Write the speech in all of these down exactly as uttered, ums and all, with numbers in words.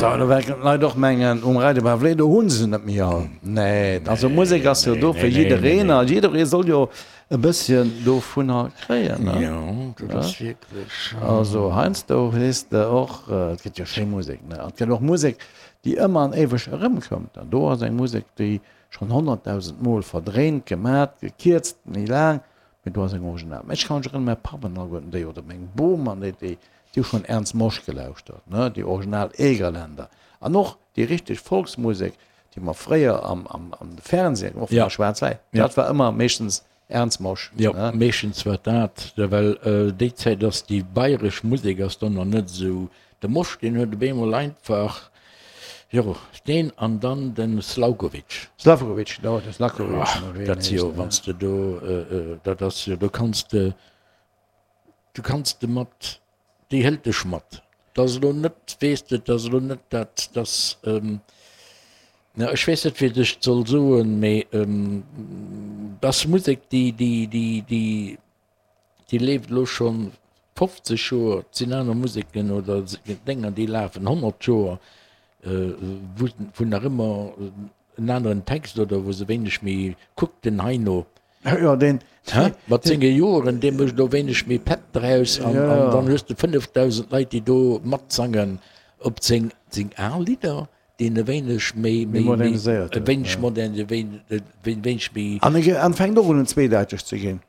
So, do wäerten d'Leit och mengen, um Radio Pavlé, do hu se net méi all. Nee, also Musek ass jo do fir jiddereen a jidderee soll jo e bësschen dovunner kréien, ne? Jo, dat ass wierklech. Also heiansdo weess de och, et gëtt jo schéi Musek, ne? An et gëtt och Musek, déi ëmmer an éiweg erëmkëmmt. An do ass eng Musek, déi schonn honnertdausend Mol verdréint, gemat, gekierzt, méi laang, mee do ass eng Original. Mä ech ka mech erënneren, mäi Papp an alleguerten déi, oder meng Bom an déi, déi hu schonn Ernst Mosch gelauschtert, ne, déi original Egerländer. An och déi richteg Volksmusek, déi mer fréier am, am, am Fernseh, och Ja. schwaarz-wäiss, Ja. dat war ëmmer meeschtens Ernst Mosch, Jo, ne. meeschtens war dat, well déi Zäit ass déi bayresch Musek ass dann nach net esou, de Mosch deen huet op eemol einfach, jo, deen an dann de Slaukovic. Slavkovic, jo, de Slavkovic, Ach, wéi en dat si jo, heescht, wann ne. s de do, dat ass jo, do kanns de, du kanns de mat, déi hëlt dech mat. Dat ass elo net, weess de, dat ass elo net dat, dass, na, ech weess net, wéi ech et soll soen, mee dat ass Musek, déi, déi, déi, déi, déi leeft elo scho fofzeg Joer. Et sinn aner Museken oder Dénger, déi lafen honnert Joer, wou, wou nach ëmmer en aneren Text oder wou se wéineg méi, kuck den Heino. Jo, deen. Hä? Mat senge Joren, dee mécht elo wéineg méi Pepp draus an, Ja, an ja. dann hues de fënnefdausend Leit, déi do matsangen op seng, seng al Lidder, déi en e wéineg méi, Méi méi, méi, moderniséiert e huet, wéineg ja. modern, e wéin, e wéineg méi. An e an fänkt och un zweedeiteg ze ginn.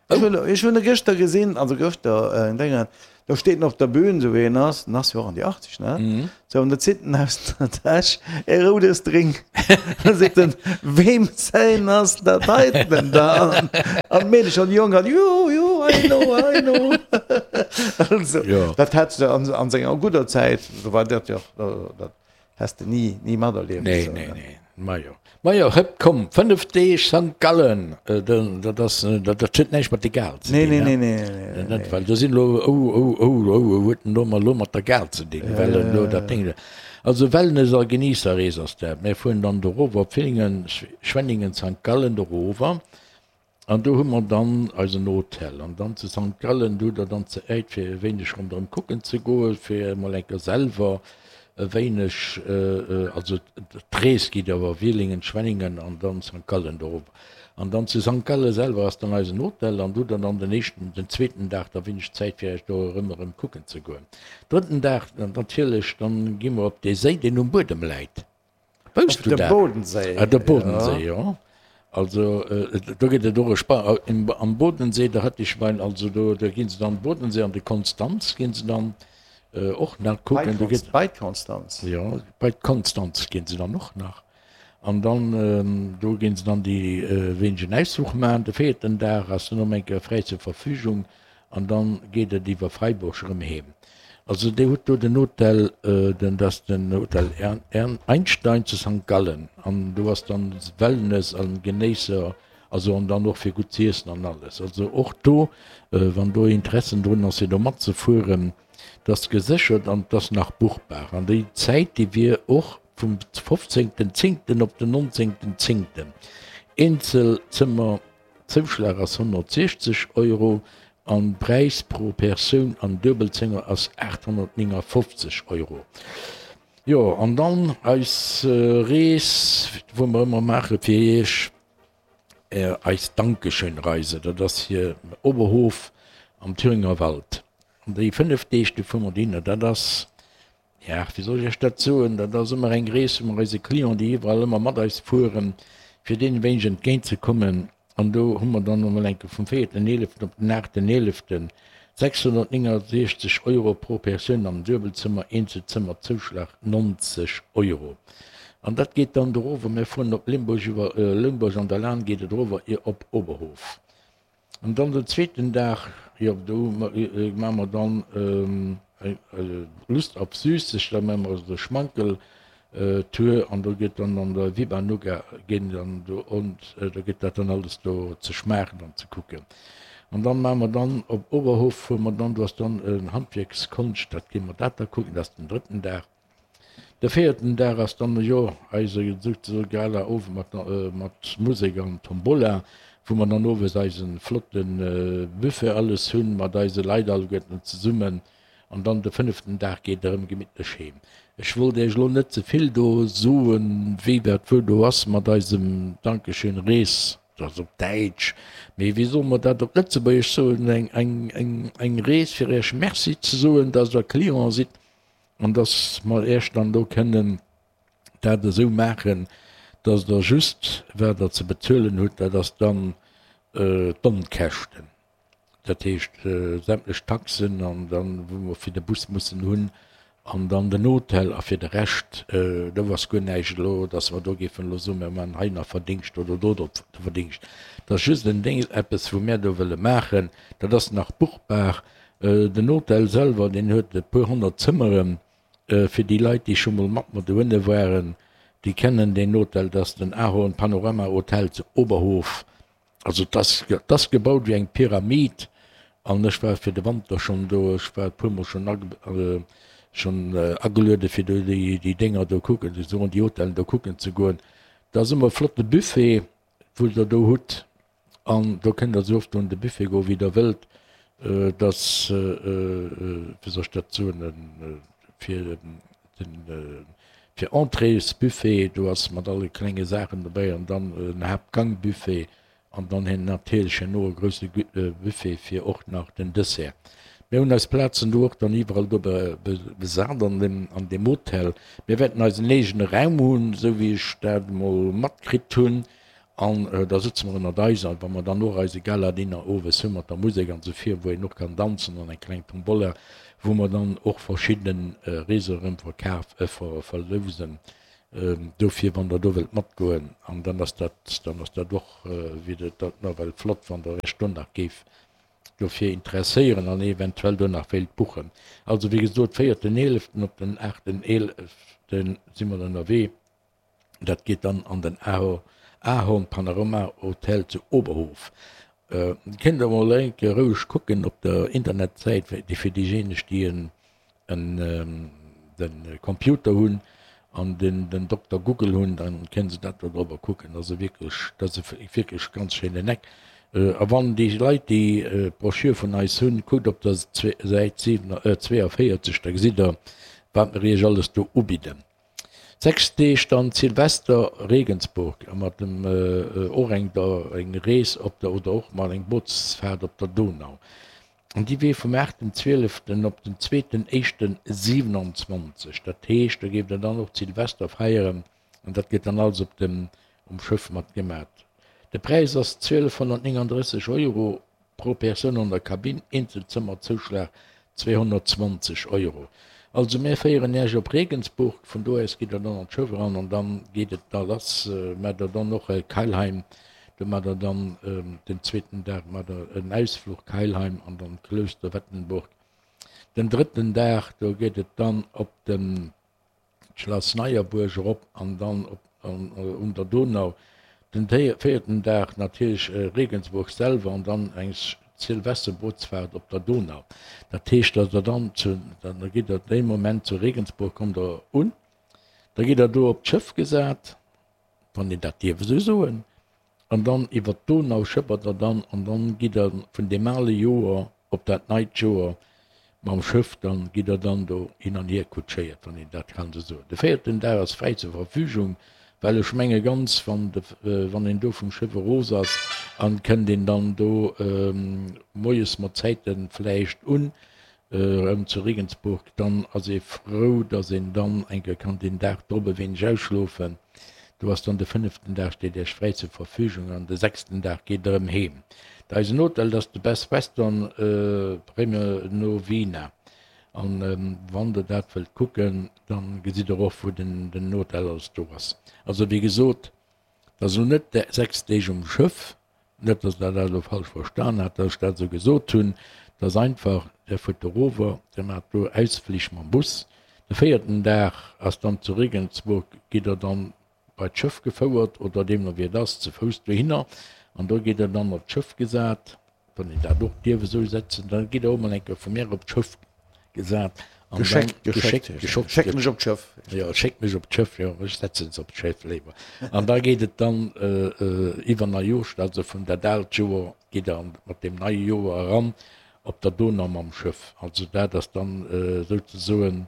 Ech Oh. hunn, ech hunn e gëschter gesinn, also gëschter, en Déngen, do steet en op der Bühn, esou wéi en ass, en ass jo och an déi achtzeg, ne? Mhm. Sou, an da zitt en aus der Täsch e roudes Drink. Da seet en, Weem säin ass dat heiten da? An d'Meedecher an déi Jonk an, Jo, jo, I know, I know. Also, Jo. dat hätt se an, an senger gudder Zäit, do war dat jo, dat häss de ni, ni materlieft. Nee, So, nee, ne? nee. Majo. Majo, hëpp, komm, fënnef Deeg Sankt Gallen, dat ass, dat huet näischt mat der Gare ze Nee, dinn, nee, ne? nee, nee, nee, Net, nee. well do sinn elo, oh, oh, oh, oh, oh, huet en do mol elo mat der Gare ze dinn, Ja, well ja, en elo ja, dat ja. Ding do. Also Wellness a Genießerrees ass dat. Mir fueren dann dorower op Villingen, Schwenningen, Sankt Gallen dorower an do hu mer dann eisen Hotel. An dann zu Sankt Gallen, do hutt der dann Zäit fir e wéineg ronderëm kucken ze goen, fir emol eng Kéier selwer e wéineg, also d'Rees geet iwwer Wielingen, Schwenningen an dann Sankt Gallen dorop. An dann zu Sankt Galle selwer ass dann eisen Hotel an do hutt der dann den éischten, den zweeten Dag da wéineg Zäit fir Iech do erëm erëm kucken ze goen. Drëtten Dag natierlech, dann gi mer op dee Séi deen um Buedem läit. Wousst Op du de dat? Bodensee, Ah, de ja. Bodensee, jo. Also do gëtt et och e Spa am Bodensee, da hat ech mein, also do do ginn se dann Bodensee an de Konstanz ginn se dann och nach kucken. Do gëtt. Bei d'Konstanz? Jo, bei d'Konstanz ginn se dann och nach. An dann do ginn se dann déi wéinegen Ausfluch maachen. De véierten Dag ass dann erëm eng Kéier fräi zur Verfügung an dann geet et iwwer Freiburg erëm heem. Also Dir hutt do den Hotel, den, dat ass den Hotel Einstein zu Sankt Gallen an do ass dann Wellness an Genéisser, also an dann och fir gutt z'iessen an alles. Also och do, wann do Interessen drun ass fir do matzefueren, dat ass geséchert an et ass nach buchbar. An déi Zäit, déi wier och vum fofzéngten zéngten op den nonzéngten zéngten. Eenzelzëmmer Zouschlag ass honnertsiechzeg Euro an Präis pro Persoun an Duebelzëmmer ass aathonnertnéngafofzeg Euro. Jo, an dann eis Rees, wou mer ëmmer maache fir Iech, eis Dankeschön-Reise, dat ass hier Oberhof am Thüringer Wald. An déi fënnef Deeg, do fuere mer dohinner. Dat ass, ja, wéi soll ech Iech dat soen, dat ass ëmmer eng Rees, wou mer eise Client, déi iwwerall ëmmer mat eis fueren, fir deenen e wéineg entgéint ze kommen. An do hu mer dann emol eng Kéier vum véierten eeleften op den aachten eeleften sechshonnertnéngasiechzeg Euro pro Persoun am Duebelzëmmer, Eenzelzëmmer Zouschlag nonzeg Euro. An dat geet dann dorower, mir fueren op Limburg, iwwer Limburg an der Lahn geet et erower op Oberhof. An dann den zweeten Dag, jo, do maache mer dann Lust auf Süßes, da maache mer esou e Schmankel Tour an do gëtt dann an der Viva Nougat ginn dann do und do gëtt dat dann alles do ze schmaachen an ze kucken. An dann maache mer dann op Oberhof fuere mer dann, do ass dann en Handwierkskonscht, dat gi mer dat da kucken, dat ass den drëtten Dag. De véierten Dag ass dann, jo, eise souzesoe Gala-Owend mat mat Musek an Tombola, wou mer dann owes eise flotte Buffet alles hunn, mat eise Leit alleguerten zesummen. An dann de fënneften Dag geet Der erëm gemittlech heem. Ech wollt Iech elo net ze vill do soen, wéi wat wou do ass mat eisem Dankeschön Rees, dat ass op Däitsch, mee wéi solle mer dat op Lëtzebuergesch soen, eng, eng, eng, eng Rees fir Iech Merci ze soen, dass Der Client sidd an dass mer Iech dann do kënnen dat esou maachen, dass Der just, wat Der ze bezuelen hutt, dat ass dann d'Onkäschten. Dat heescht sämtlech Taxen an dann, wou mer fir de Bus mussen hunn an dann den Hotel a fir de Rescht, do ass guer näischt elo, dass mer do géifen elo soen, mir maachen hei nach Verdingscht oder do de Verdingscht. Dat ass just en Ding, eppes wou mär do wëlle maachen. Dat ass nach buchbar. Den Hotel selwer, deen huet e puer honnert Zëmmeren. Fir déi Leit, déi scho mol mat mer dohinne waren, déi kennen deen Hotel. Dat ass den Ahorn Panorama Hotel zu Oberhof. Also et ass, et ass gebaut wéi eng Pyramid an ech war fir de Wanter schonn do. Ech war e puermol schonn schonn ageluede fir do déi, déi Dénger do kucken ze goen, déi Hotellen do kucken ze goen. Dat ass ëmmer e flotte Buffet, wou Der do hutt an do kënnt Der esou oft un de Buffet goen, wéi Der wëllt. Et ass, wéi soll ech dat soen, fir den, fir Entréesbuffet, do ass mat alle klenge Saachen dobäi an dann en Haaptgangbuffet An dann hen natierlech herno e grousse Buffet fir och nach den Dessert. Mir hunn eis Plazen do och dann iwwerall do besat an dem, an deem Hotel. Mir wäerten eisen eegene Raum hunn, esou wéi ech dat emol matkritt hunn. An da sëtze mer ënnert eis a wa mer dann och eise Gala-Dinner owes hu mat der Musek an esou vir, wou een och kann danzen an eng kleng Tombola, wou mer dann och verschidde Reese erëm verkaf, verlousen. Dofir, wann Der do wëllt matgoen, an dann ass dat, dann ass dat och, wier dat nawell flott, wann Der Iech do nach géift dofir interesséieren an eventuell do nach wéilt buchen. Also, wéi gesot, véierten eeleften op den aachten eelefte si mer ënnerwee. Dat geet dann an den Ahorn Panorama Hotel zu Oberhof. Kënnt Der emol eng Kéier roueg kucken op der Internetsäit, fir déijéineg, déi en de Computer hunn an den den Dokter Google hunn, dann kënnen se dat do drobber kucken. Dat ass e wierklech, dat ass e wierklech ganz schéinen Eck. A wann déi Leit déi d'Broschür vun eis hunn, kuckt op der Säit zwéiavéierzeg, da gesitt der, wat mer iech alles do ubidden. Sechs Deeg dann Silvester Regensburg a mat dem och eng der eng Rees op der oder och mat eng Bootsfaart op der Donau. An déi wier vum aachten zwieleften op den zweeten éischten siwenanzwanzeg. Dat heescht, do géif Der dann och d'Silvester feieren an dat gëtt dann alles op dem, um Schëff mat gemat. De Präis ass zwielefhonnertnéngandrësseg Euro pro Persoun an der Kabinn, Eenzelzëmmerzouschlag zweehonnertzwanzeg Euro. Also mir féieren Iech op Regensburg, vun do aus gitt Der dann an d'Schëff eran an dann geet et da lass. Maacht Der dann och Keilheim, do maacht Der dann den zweeten Dag maacht Der en Ausfluch Keilheim an dann Kloster Wettenburg. Den drëtten Dag, do geet et dann op den d'Schlass Neierbuerg erop an dann op un der Donau. Den véierten Dag natierlech Regensburg selwer an dann eng Silvesterbootsfaart op der Donau. Dat heescht, datt Der dann zu, da gitt Der dee Moment zu Regensburg, kommt Der un, da gitt Der do op d'Schëff gesat, wann een dat dierf esou soen, an dann iwwert d'Donau schëppert Der dann an dann gitt Der vun deem ale Joer op dat neit Joer mam Schëff, dann gitt Der dann do hin an hier kutschéiert, wann een dat kann esou soen. De véierten Dag ass fräi zur Verfügung, well ech menge ganz, wann de, wann een do vum Schëff eros ass an kënnt een dann do moies mat Zäite vläicht un, erëm zu Regensburg, dann ass ee frou, datt een dann eng Kéier kann deen Dag drop e wéineg ausschlofen. Do ass dann de fënneften Dag steet Iech fräi zur Verfügung an de sechsten Dag geet Der erëm heem. Eisen Hotel, dat ass de Best Western Premier Novina. An wann Der dat wëllt kucken, dann gesitt Der och wou den den Hotel alles do ass. Also wéi gesot, dat ass elo net sechs Deeg um Schëff, Net, dass Der dat elo falsch verstan hat, dass ech dat esou gesot hunn. Et ass einfach, Der fuert erover, Der maacht do Ausflich mam Bus. De véierten Dag ass dann zu Regensburg, gitt Der dann bei d'Schëff gefouert oder deemno wéi et ass, ze Fouss dohinner an do gitt Der dann op d'Schëff gesat, wann een dat och dierf esou setzen. Da gitt Der och emol eng Kéier vu mir op d'Schëff gesat an dann Geschéckt, geschéckt, geschéckt, schéckt mech op d'Schëff. Jo, schéckt mech op d'Schëff, jo, ech setzen se op d'Schëff léiwer. An da geet et dann iwwer Neijooscht, also vun dat aalt Joer geet Der mat deem neie Joer eran op der Donau mam Schëff. Also dat ass dann souzesoen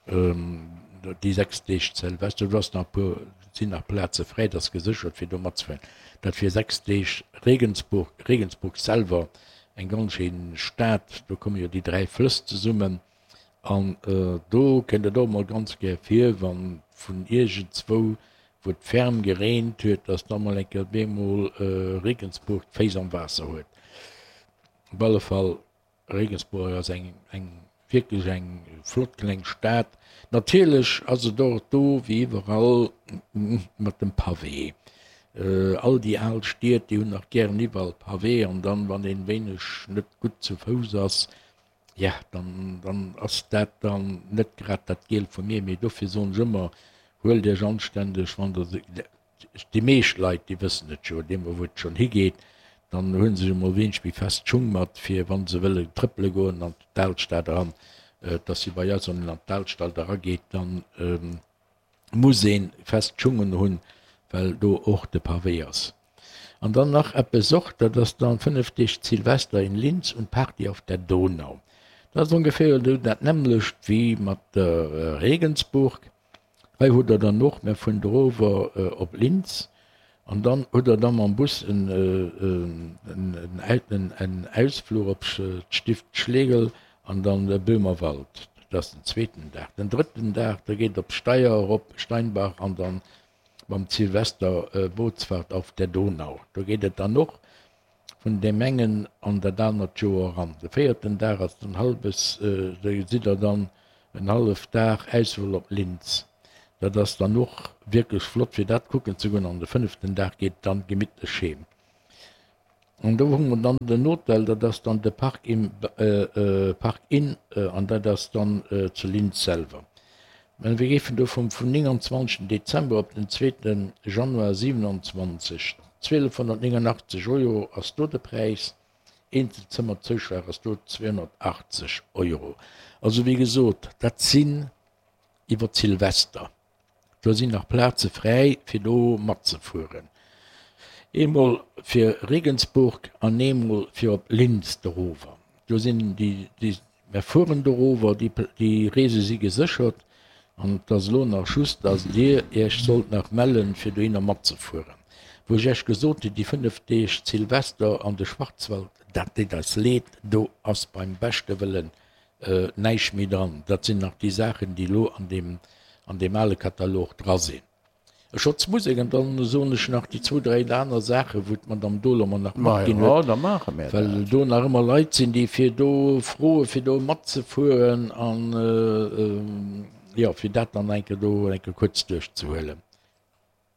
déi sechs Deeg Zilvester. Do ass nach e puer, sinn nach Plaze fräi, dat ass geséchert fir do matzefueren. Dat fir sechs Deeg Regensburg, Regensburg selwer eng ganz schéin Stad, do komme jo déi dräi Flëss zesummen an do kënnt et och emol ganz gär vir, wann vun iergendzwou, wou et ferm gereent huet, dass da mol eng Kéier op eemol Regensburg d'Féiss am Waasser huet. Op alle Fall, Regensburg ass eng, eng wierklech eng flott kleng Stad. Natierlech ass et och do wéi iwwerall mat dem Pavé. All déi al Stied, déi hunn nach gären iwwerall Pavé an dann, wann een wéineg net gutt zu Fouss ass, ja, dann, dann ass dat dann net grad dat Giel vum Ee. Mee dofir soen ech ëmmer, huelt Iech anständeg, wann Der se, déi meescht Leit, déi wëssen et jo, deemno wou et schonn higeet, dann hu se sech emol wéineg méi fest Schung mat, fir wa se wëlle trëppele goen an d'Alstad eran. Et ass wéi bei eis, wann een an d'Alstad erageet, dann muss ee fest Schungen hunn, well do och de Pavé ass. An dann nach eppes och, dat ass dann fënnef Deeg Silvester in Linz und Party auf der Donau. Dat ass ongeféier esou dat nämmlecht wéi mat der Regensburg. Hei hutt der dann och, mir fueren dorower op Linz an dann hutt der da mam Bus en Ausfluch op d'Stift Schlegel an dann de Böhmerwald. Dat ass den zweeten Dag. Den drëtten Dag, da geet et op Steyr erop, Steinbach an dann mam Silvester Bootsfahrt auf der Donau. Do geet et dann och vun deem engen an dat anert Joer eran. De véierten Dag ass dann halbes, do sidd der dann en hallef Dag Ausfluch op Linz. Dat ass dann och wierklech flott fir dat kucken ze goen. An de fënneften Dag geet et dann gemittlech heem. An do hu mer dann den Hotel, dat ass dann de Park Inn, Park Inn, an dat ass dann zu Linz selwer. Mä mir géifen do vum vum nénganzwanzegsten Dezember op den zweeten Januar siewenanzwanzeg, zwielefhonnertnéngundachtzeg Euro ass do de Präis, Eenzelzëmmerzouschlag ass do zweehonnertachtzeg Euro. Also wéi gesot, dat sinn iwwer Silvester. Do sinn nach Plaze fräi fir do matzefueren. Eemol fir Regensburg an eemol fir op Linz dorower. Do sinn déi, déi, mer fueren dorower, déi, déi Reese si geséchert an et ass elo nach just, dass Dir Iech sollt nach mellen, fir dohinner matzefueren. Wou ech Iech gesot hunn, déi fënnef Deeg Silvester an de Schwarzwald, dat deet eis leed, do ass beim beschte Wëllen näischt méi dran. Dat sinn nach déi Saachen, déi elo an deem, an deem ale Katalog dra sinn. Ech schotz Musek an dann soen ech nach déi zwou, dräi aner Saachen, wou d'Madame Dohler mer nach matginn huet, well do nach ëmmer Leit sinn, déi fir do froe fir do matzefueren an, jo, fir dat dann eng Kéier do eng Kéier kuerz duerchzehuelen.